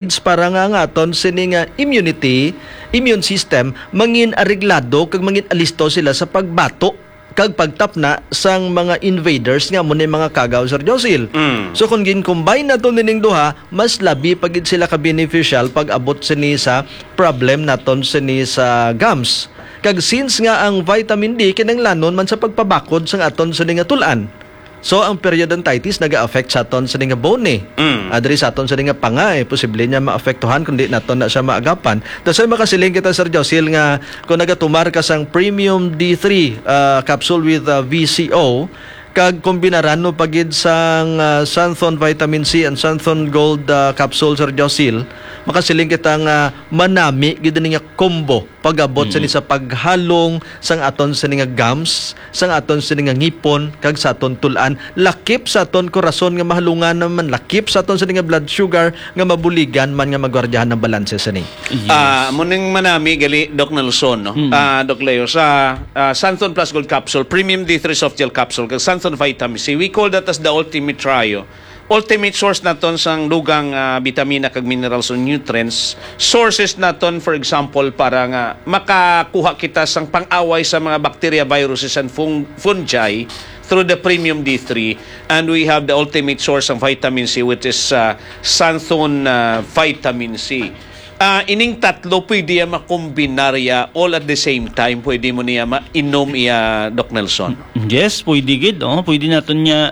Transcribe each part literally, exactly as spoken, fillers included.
Para nga ang aton sini nga immunity, immune system, mangin areglado kag mangin alisto sila sa pagbato kag pagtapna sang mga invaders nga amo ni mga kagaw, Sir Josil. Mm. So, kung gin-combine naton nining duha, mas labi pa gid sila ka beneficial pag abot sini sa problem naton sini sa gums. Kag since nga ang vitamin D kinahanglanon man sa pagpabakod sang aton sini nga tul-an. So, ang periodontitis naga-affect sa aton sini nga bone. Mm. Ah, diri sa aton sini nga panga, eh, posible niya maapektuhan kung di naton na siya maagapan. That's why makasiling kita, Sir Josil, nga kung nagatumar ka sang Premium D three, ah, capsule with, ah, V C O, kag kombinaran mo pa gid sang, ah, Santhon Vitamin C and Santhon Gold, ah, capsule, Sir Josil, makasiling kita nga manami gid ni nga combo pag-abot sa ni sa paghalong sang aton sini nga gums, sang aton sini nga ngipon, kag sa aton tul-an, lakip sa aton korason nga mahalungan naman, lakip sa aton sini nga blood sugar nga mabuligan man nga magwardiyahan ang balanse sini. Yes. Ah, mo ning manami gali, Doc Nelson, no? Mm. Ah, Doc Leo, sa, ah, Santhon Plus Gold Capsule, Premium D three Soft Gel Capsule, kag Santhon Vitamin C, we call that as the ultimate trio. Ultimate source naton sang dugang, ah, bitamina kag minerals o nutrients. Sources naton, for example, para nga makakuha kita sang pang-away sa mga bacteria, viruses, and fung-, fungi through the Premium D three. And we have the ultimate source sang vitamin C, which is, ah, Santhon, ah, Vitamin C. Ah, ining tatlo pwede ya makombinarya all at the same time. Pwede mo niya mainom iya, Doc Nelson. Yes, pwede gid, oh. Pwede naton niya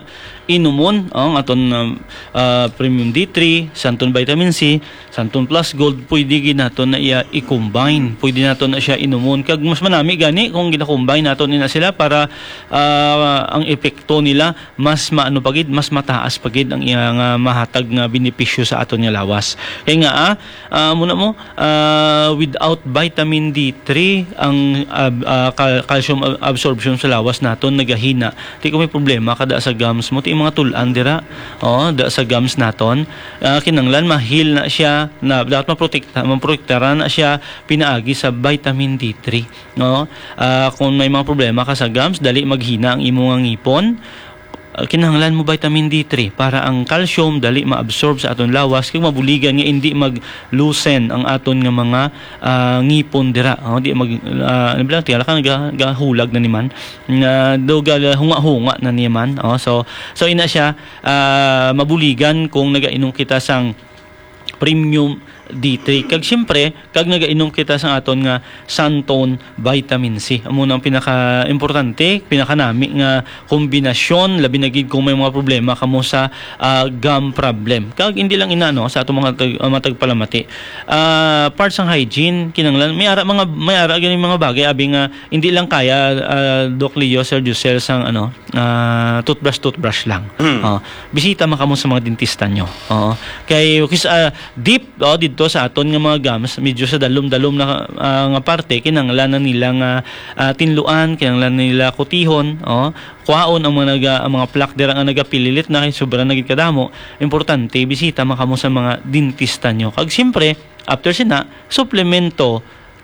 inumon, oh, ang aton, um, ah, Premium D three, Santon Vitamin C, Santon Plus Gold, pwede gid naton na iya i-combine. Pwede naton na siya inumon. Kag mas manami gani kung gina-combine naton ina sila para, ah, ang epekto nila mas maano pa gid, mas mataas pa gid ang iya nga mahatag nga benepisyo sa aton nga lawas. Kay nga, ah, ah, muna mo, ah, without vitamin D three, ang, ab-, ah, cal-, calcium ab-, absorption sa lawas naton nagahina. Di ko may problema kada sa gums mo, ti mga tul-an dira. Oh, da sa gums naton. Ah, kinanglan mahil na siya, na dapat maprotekta, maprotektaran na siya pinaagi sa vitamin D three. No? Ah, kung may mga problema ka sa gums, dali maghina ang imo nga ngipon. Ah, kinahanglan mo vitamin D three para ang calcium dali maabsorb sa aton lawas kag mabuligan nga hindi mag-loosen ang aton nga mga, ah, ngipon dira. Oh, di mag, ah, ano ba lang, tingala ka, naga-, gahulag na niman. Nga do ga-, hunga-hunga na niman. Oh, so, so ina siya, ah, mabuligan kung nagainom kita sang Premium D three. Kag siyempre, kag nagainom kita sang aton nga Santon Vitamin C. Amo na ang pinaka-importante, pinakanami nga kombinasyon, labi na gid kung may mga problema kamo sa, ah, gum problem. Kag hindi lang ina, no, sa atong mga tag-, ah, mga tagpalamati. Ah, part sang hygiene, kinanglan, may ara mga, may ara gani mga bagay, abi nga, hindi lang kaya, ah, Doc Leo, Sir Josel, sang ano, ah, toothbrush, toothbrush lang. Mm. Oh, bisita man kamo sa mga dentista nyo. Oo. Kay, kis-, ah, deep, oh, dito sa aton nga mga gums, medyo sa dalom-dalom na, ah, nga parte, kinahanglan na nila nga, ah, tinluan, kinahanglan na nila kutihon, oh, kwaon ang mga naga-, ang mga plaque dira nga nagapililit na kay sobra na gid kadamo. Importante, bisita man kamo sa mga dentista nyo. Kag siyempre, after sina, suplemento,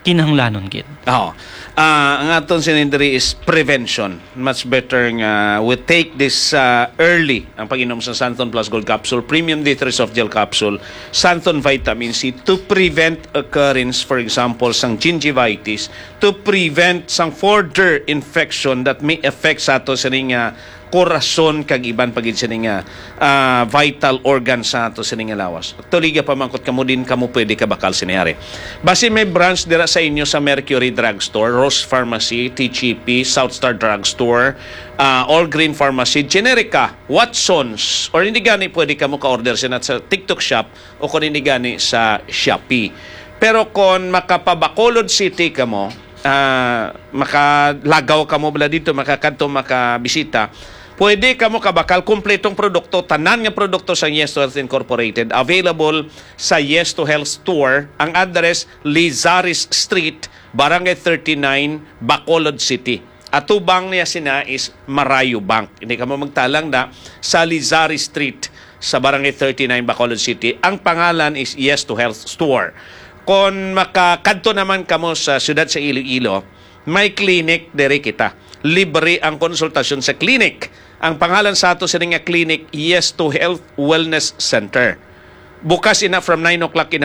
kinahanglanon gid. Oo. Ah, ang aton sinindri is prevention. Much better nga we take this, ah, early, ang pag-inom sa Santon Plus Gold Capsule, Premium D three Soft Gel Capsule, Santon Vitamin C to prevent occurrence, for example, sang gingivitis, to prevent sang further infection that may affect sa ato sining, ah, korason kag iban pa gid sini nga, ah, vital organ sa ato sini nga lawas. Actually, gapamangkot kamo, din kamo pwede kabakal sini, ari. Basin may branch dira sa inyo sa Mercury Drugstore, Rose Pharmacy, T G P, South Star Drugstore, ah, All Green Pharmacy, Generica, Watsons, or hindi gani pwede kamo ka-order sina sa TikTok Shop o kung hindi gani sa Shopee. Pero kung maka-Bacolod City kamo, ah, makalagaw kamo bala dito, makakadto, makabisita, pwede kamo kabakal kompletong produkto, tanan nga produkto sa Yes to Health Incorporated, available sa Yes to Health Store. Ang address, Lizares Street, Barangay thirty-nine, Bacolod City. Atubang niya sina is Marayo Bank. Hindi kamo magtalang na sa Lizares Street sa Barangay thirty-nine, Bacolod City. Ang pangalan is Yes to Health Store. Kon makakadto naman kamo sa siyudad sa Iloilo, may clinic diri kita. Libre ang konsultasyon sa clinic. Ang pangalan sa ato sini nga clinic, Yes to Health Wellness Center. Bukas ina from nine o'clock in